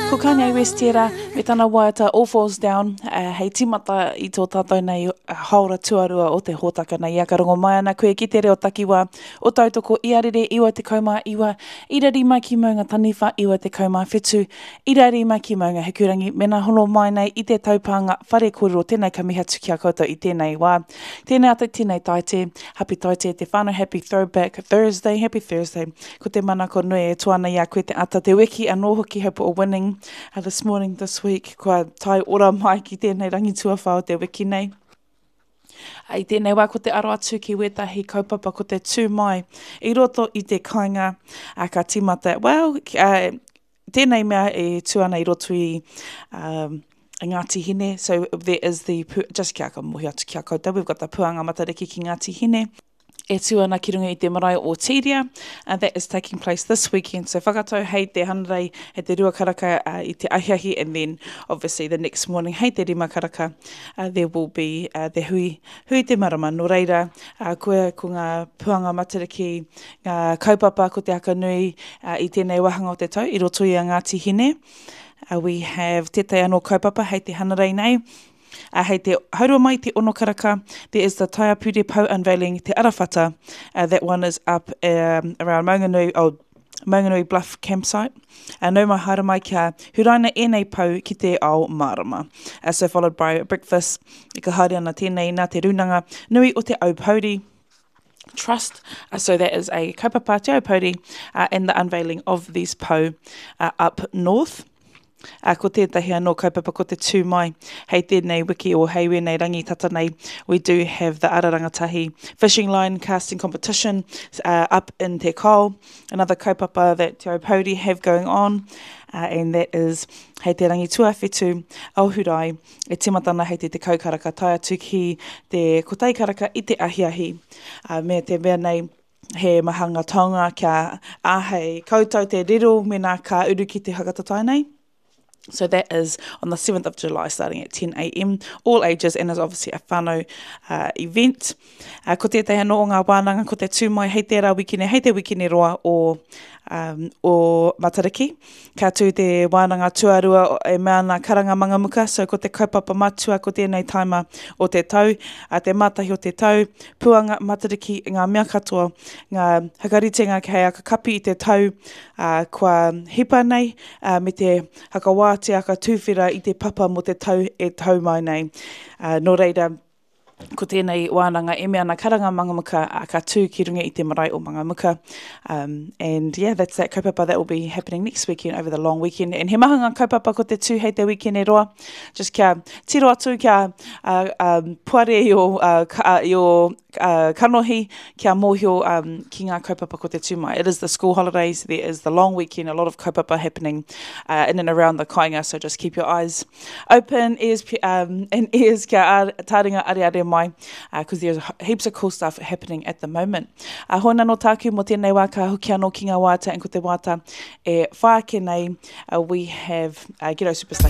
Ko Kanye West tērā, me tana waiata All Falls Down, uh, hei tīmata i tō tātou nei haora tuarua o te hōtaka nei. Ia ka rongo mai ana koe ki te reo takiwā o Tautoko i Arere 99, ira rima ki Maunga Taniwha 97, ira rima ki Maunga Hikurangi, mena hono mai nei i te taupānga whare kōrero tēnei ka mihi atu ki a koutou i tēnei wā. Tēnei ata, tēnei taite, happy taite te whānau, happy throwback Thursday, happy Thursday. Ko te manako nui e toa ana i a koe te ata, te wiki anō hoki, hope we're winning uh, this morning, this week, kua tae ora mai ki tēnei rangi tuawhā o te wiki nei. I tēnei wā ko te aro atu ki wētahi kaupapa ko te tū mai i roto i te kāinga a ka tīmata, well, uh, tēnei mea e tū ana i roto i um, Ngāti Hine, so there is the, just kia ka mohi atu ki a koutou, we've got the Puanga Matariki ki Ngāti Hine, e tū ana ki runga i te marae o Tīria, and that is taking place this weekend. So whakatau hei te Hanarei, hei te rua karaka uh, i te ahiahi, and then obviously the next morning hei te rima karaka, uh, there will be uh, the hui, hui te marama. Nō reira, uh, koe ko ngā puanga matariki, ngā kaupapa ko te haka nui uh, i tēnei wāhanga o te tau i roto i a Ngāti Hine. Uh, we have tētahi anō kaupapa hei te Hanarei nei, Uh, hei te haurua mai te ono karaka, there is the Taiapure Pou Unveiling Te Arawhata. Uh, that one is up um, around Maunganui, oh, Maunganui Bluff campsite. Uh, nau mai haere mai kia huraina ēnei pou ki te ao mārama. Uh, so followed by breakfast, e ka haere ana tēnei nā te rūnanga nui o te Aupouri Trust. Uh, so that is a kaupapa Te Aupouri uh, and the unveiling of these pou uh, up north. Ā, ko tētahi anō kaupapa ko te tū mai hei tēnei wiki o hei wēnei rangi tata nei, we do have the Ara Rangatahi Fishing Line Casting Competition uh, up in Te Kao, another kaupapa that Te Aupouri have going on, uh, and that is hei te rangi tuawhitu o Hurae, e tīmata ana hei te tekau karaka tae atu ki te kotahi karaka i te ahiahi, uh, me te mea nei, He maha ngā taonga kia āhei koutou te riro mēnā ka uru ki te whakatatae nei. So that is on the 7th of July starting at 10am, all ages and is obviously a whānau uh, event. Uh, ko tētahi anō o ngā wānanga ko te tū mai hei tērā wikine, hei te wikine roa o, um, o Matariki. Ka tū te wānanga tuarua e mea ana Karanga Mangamuka, so ko te kaupapa matua ko tēnei taima o te tau, a te mātahi o te tau, Puanga, Matariki, ngā mea katoa, ngā hakaritenga kei aka kapi i te tau ā, kua hipa nei, ā, me te hakawātea ka tūwhera i te papa mō te tau e tau mai nei. Ā, nō reira, ko tēnei wānanga e mea ana karanga Mangamuka, ā, ka tū ki runga i te marae o Mangamuka. Um, and yeah, that's that kaupapa that will be happening next weekend over the long weekend. And he maha ngā kaupapa ko te tū hei te wikene roa. Just kia tiro atu, kia uh, um, puare i o, uh, ka, uh, i o uh, kanohi, kia mōhio um, ki ngā kaupapa ko te tū mai. It is the school holidays, there is the long weekend, a lot of kaupapa happening uh, in and around the kāinga, so just keep your eyes open, ears, um, and ears kia tāringa areare mai, because uh, there's heaps of cool stuff happening at the moment. Uh, hoi nō tāku mō tēnei wā ka hoki anō ki ngā wāta, and ko te wāta e whā ake nei, uh, we have uh, Ghetto Superstar.